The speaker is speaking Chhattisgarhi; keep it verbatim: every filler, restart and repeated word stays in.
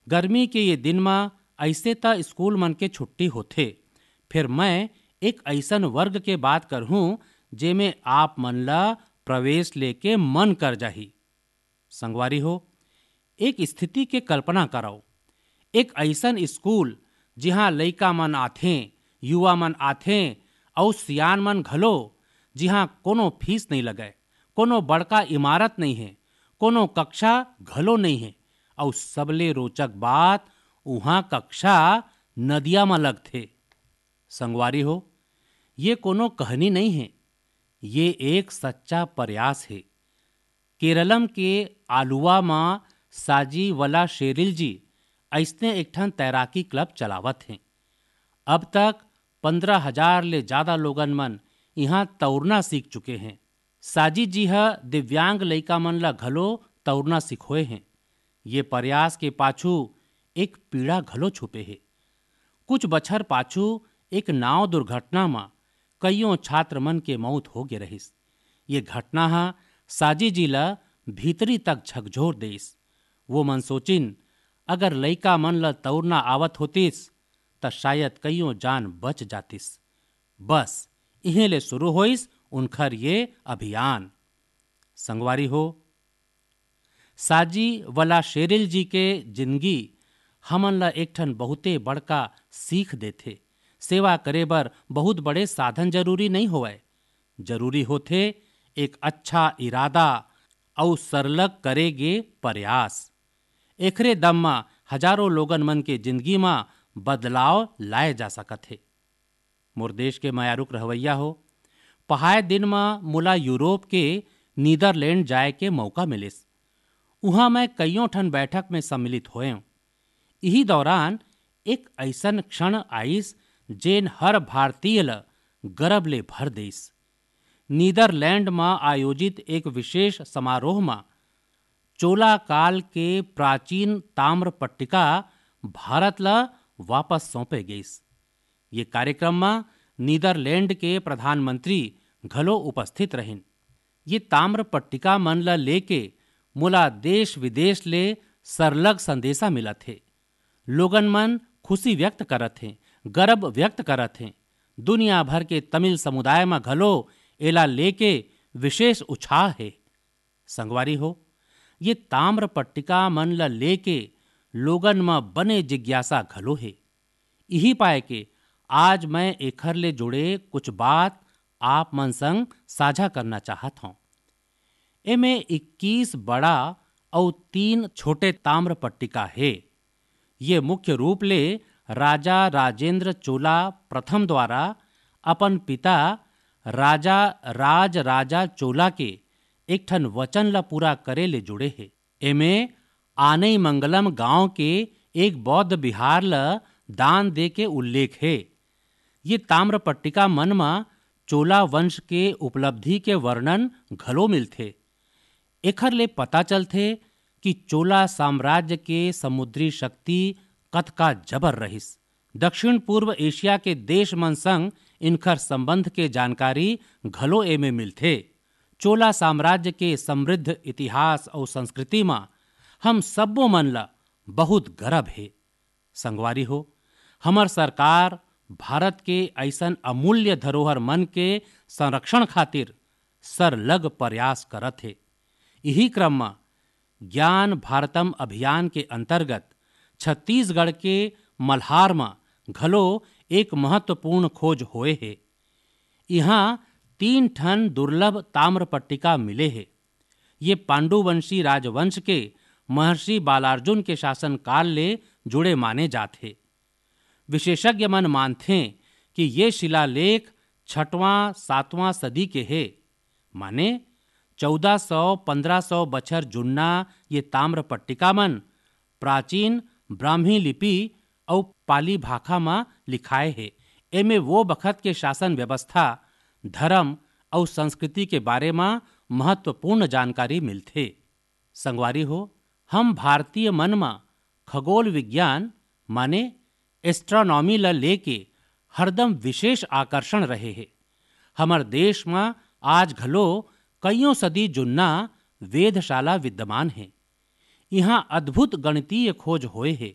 गर्मी के ये दिन म अइसे त स्कूल मन के छुट्टी होथे, फेर मैं एक अइसन वर्ग के बात करहूं, जेमे आप मन ला प्रवेश लेके मन कर जाही। संगवारी हो, एक स्थिति के कल्पना करव। एक अइसन स्कूल, जिहां लइका मन आथें, युवा मन आथें अउ सियान मन घलो, जिहां कोनो फीस नइ लगय, कोनो बड़का इमारत नइ हे, कोनो कक्षा घलो नइ हे, अउ सबले रोचक बात, उहां कक्षा नदिया म लगथे। संगवारी हो, ये कोनो कहनी नइ हे, ये एक सच्चा प्रयास हे। केरलम के आलुवा म साजी वला शेरिल जी अइसने एक ठन तैराकी क्लब चलावत हें। अब तक पन्द्रह हजार ले जादा लोगन मन इहां तउरना सीख चुके हें। साजी जी ह दिव्यांग लइका मन ल घलो तउरना सिखोए हें। ये प्रयास के पाछू एक पीड़ा घलो छुपे हे। कुछ बछर पाछू एक नाव दुर्घटना म कइयों छात्र मन के मौत हो गे रहिस। ये घटना ह साजी जी ल भीतरी तक झकझोर देइस। वो मन सोचिन, अगर लइका मन ल तउरना आवत होतिस, त शायद कइयों जान बच जातिस। बस, इहें ले शुरू होइस उनखर ये अभियान। संगवारी हो, साजी वला शेरिल जी के जिंदगी हमन ला एक ठन बहुते बड़का सीख देथे। सेवा करे बर बहुत बड़े साधन जरूरी नइ होवय, जरूरी होथे एक अच्छा इरादा अउ सरलग करे गे प्रयास। एखरे दम म हजारों लोगन मन के जिंदगी म बदलाव लाए जा सकत हे। मोर देश के मयारुक रहवैया हो, पहाय दिन म मोला यूरोप के नीदरलैंड जाए के मौका मिलिस। उहां मैं कइयों ठन बैठक में सम्मिलित होएंव। इही दौरान एक अइसन क्षण आइस, जेन हर भारतीय ल गर्व ले भर देइस। नीदरलैंड म आयोजित एक विशेष समारोह म चोला काल के प्राचीन ताम्र पट्टिका भारत ल वापस सौंपे गइस। ये कार्यक्रम म नीदरलैंड के प्रधानमंत्री घलो उपस्थित रहिन। ये ताम्र पट्टिका मन ल लेके मोला देश विदेश ले सरलग संदेशा मिलत हे। लोगन मन खुशी व्यक्त करत हें, गर्व व्यक्त करत हें। दुनिया भर के तमिल समुदाय म घलो एला लेके विशेष उछाह हे। संगवारी हो, ये ताम्र पट्टिका मन ल लेके लोगन म बने जिज्ञासा घलो हे। इही पाय के आज मैं एखर ले जुड़े कुछ बात आप मन संग साझा करना चाहत हौं। एमे इक्कीस बड़ा अउ तीन छोटे ताम्र पट्टिका हे। ये मुख्य रूप ले राजा राजेंद्र चोला प्रथम द्वारा अपन पिता राजा राज राजा चोला के एक ठन वचन ल पूरा करे ले जुड़े हे। एमे आनई मंगलम गांव के एक बौद्ध बिहार ल दान दे के उल्लेख हे। ये ताम्र पट्टिका मन म चोला वंश के उपलब्धि के वर्णन घलो मिलथे। एखर ले पता चलथे कि चोला साम्राज्य के समुद्री शक्ति कतका जबर रहिस। दक्षिण पूर्व एशिया के देश मन संग इनखर संबंध के जानकारी घलो एमे मिलथे। चोला साम्राज्य के समृद्ध इतिहास अउ संस्कृति म हम सब्बो मन ल बहुत गरब हे। संगवारी हो, हमर सरकार भारत के अइसन अमूल्य धरोहर मन के संरक्षण खातिर सरलग प्रयास करत हे। इही क्रम म ज्ञान भारतम अभियान के अंतर्गत छत्तीसगढ़ के मल्हार म घलो एक महत्वपूर्ण खोज होए हे। इहां तीन ठन दुर्लभ ताम्र पट्टिका मिले हे। ये पांडुवंशी राजवंश के महर्षि बालार्जुन के शासनकाल ले जुड़े माने जात हे। विशेषज्ञ मन मानथें कि ये शिलालेख छठवां, सातवां सदी के हे, माने चौदह सौ, पन्द्रह सौ बछर जुन्ना ये ताम्र पट्टिका मन प्राचीन ब्राह्मी लिपि अउ पाली भाखा म लिखाए हे। एमे वो बखत के शासन व्यवस्था, धर्म अउ संस्कृति के बारे म महत्वपूर्ण जानकारी मिलथे। संगवारी हो, हम भारतीय मन म खगोल विज्ञान माने एस्ट्रोनॉमी ल लेके हरदम विशेष आकर्षण रहे हे। हमर देश म आज घलो कइयों सदी जुन्ना वेधशाला विद्यमान हे। इहां अद्भुत गणितीय खोज होए हे।